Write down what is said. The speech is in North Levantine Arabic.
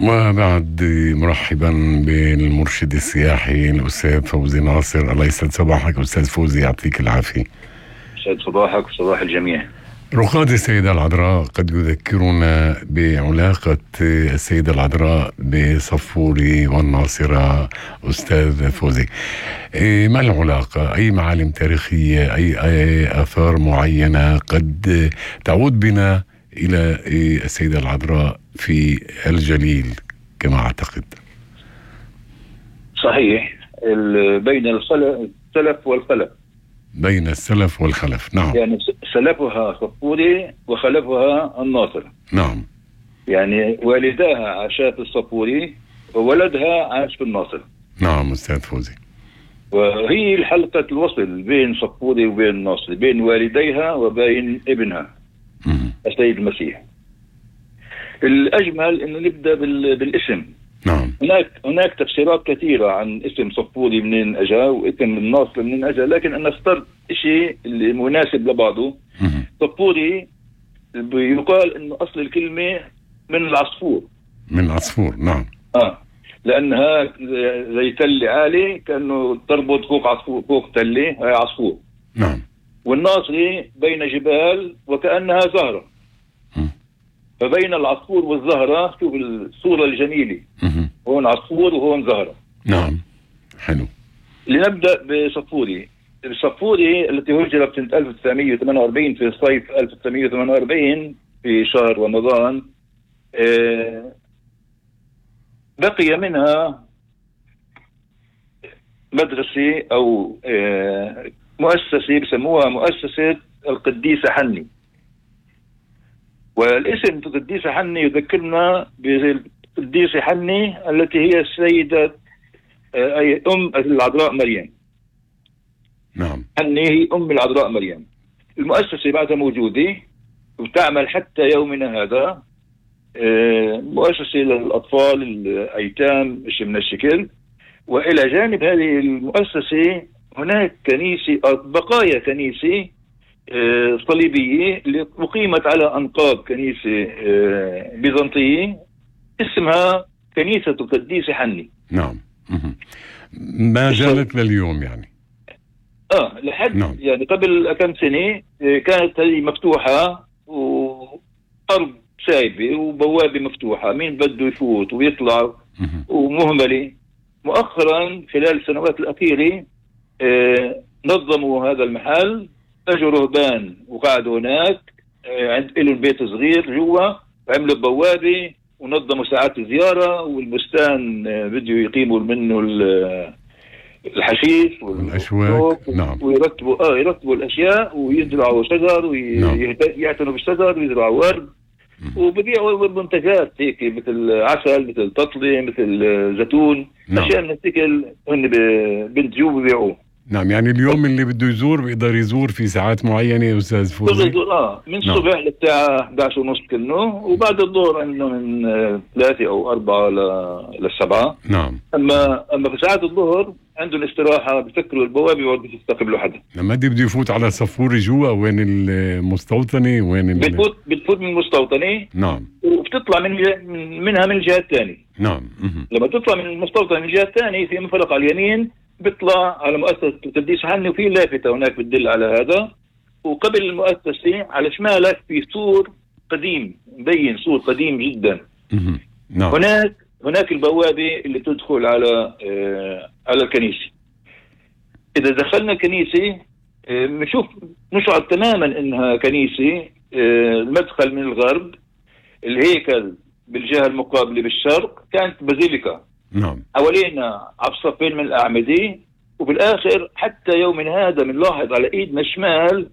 وبعد مرحبا بالمرشد السياحي الأستاذ فوزي ناصر. الله يسعد صباحك أستاذ فوزي، يعطيك العافية. يسعد صباحك وصباح الجميع. رقاد السيدة العذراء قد يذكرنا بعلاقة السيدة العذراء بصفوري والناصرة. أستاذ فوزي، ما العلاقة؟ أي معالم تاريخية، أي آثار معينة قد تعود بنا إلى السيدة العذراء في الجليل كما أعتقد؟ صحيح، بين السلف والخلف. بين السلف والخلف، نعم. يعني سلفها صفوري وخلفها الناصر. نعم. يعني والداها عاشا في الصفوري وولدها عاش في الناصر. نعم أستاذ فوزي. وهي حلقة الوصل بين صفوري وبين الناصر، بين والديها وبين ابنها السيد المسيح. الأجمل إنه نبدأ بالاسم. نعم. هناك تفسيرات كثيرة عن اسم صفوري منين أجا واسم الناصر منين أجا، لكن أنا اخترت شيء اللي مناسب لبعضه. صفوري يقال إنه أصل الكلمة من العصفور. من عصفور، نعم. لأنها زي تل عالي، كأنه تربط فوق عصفور، فوق تلة، هي عصفور. نعم. والناصري بين جبال وكأنها زهرة. فبين العصفور والزهرة، شوف الصورة الجميلة. هون عصفور وهون زهرة. نعم، حلو. لنبدأ بصفوري. الصفوري التي هجرت سنة 1948 في صيف 1948 في شهر رمضان. بقي منها مدرسة أو مؤسسة بسموها مؤسسة القديسة حني. والاسم القديسة حني يذكرنا بالقديسة حني التي هي السيدة أي أم العذراء مريم. نعم. حني هي أم العذراء مريم. المؤسسة بعدها موجودة وتعمل حتى يومنا هذا، مؤسسة للأطفال الأيتام مش من الشكل. وإلى جانب هذه المؤسسة هناك كنيسة، بقايا كنيسة صليبية اللي أقيمت على أنقاض كنيسة بيزنطية اسمها كنيسة القديسة حني. نعم. ما زالت لليوم يعني. لحد نعم. يعني قبل كم سنة كانت هذه مفتوحة وأرض سايبة وبوابة مفتوحة، مين بده يفوت ويطلع ومهملة. مؤخرا خلال السنوات الأخيرة نظموا هذا المحل، اجوا رهبان وقعدوا هناك، لهم بيت صغير جوا وعملوا بوابة ونظموا ساعات الزيارة، والبستان بدوا يقيموا منه الحشيش والأشواك. نعم. ويرتبوا الأشياء ويزرعوا شجر ويعتنوا بالشجر ويزرعوا ورد وبيبيعوا منتجات هيك مثل عسل، مثل تطلي، مثل زيتون. نعم. أشياء من الثقل هن بنتجوا وبيبيعوه. نعم. يعني اليوم اللي بده يزور بيقدر يزور في ساعات معينة يا أستاذ فوزي؟ من الصبح للساعة 11:30 كنه، وبعد الظهر عندنا من 3 أو 4 ل7. نعم. أما في ساعات الظهر عندهم استراحة، بفكروا البوابة وبده يستقبلوا حدا. لما بده يفوت على صفوري جوا، وين المستوطنة؟ وين بتفوت من المستوطنة. نعم. وبتطلع منها من الجهة الثانية. نعم. لما تطلع من المستوطنة من الجهة الثانية في منفلق على اليمين بيطلع على مؤسسة القديسة حني، وفي لافتة هناك بتدل على هذا. وقبل المؤسسة على شمالك في سور قديم، مبين سور قديم جدا. نعم. هناك البوابة اللي تدخل على الكنيسة. إذا دخلنا الكنيسة نشعر تماما إنها كنيسة. المدخل من الغرب، الهيكل بالجهة المقابلة بالشرق كانت بازيليكا. نعم. حوالينا عبصفين من الأعمدة، وبالآخر حتى يومنا هذا بنلاحظ على إيدنا الشمال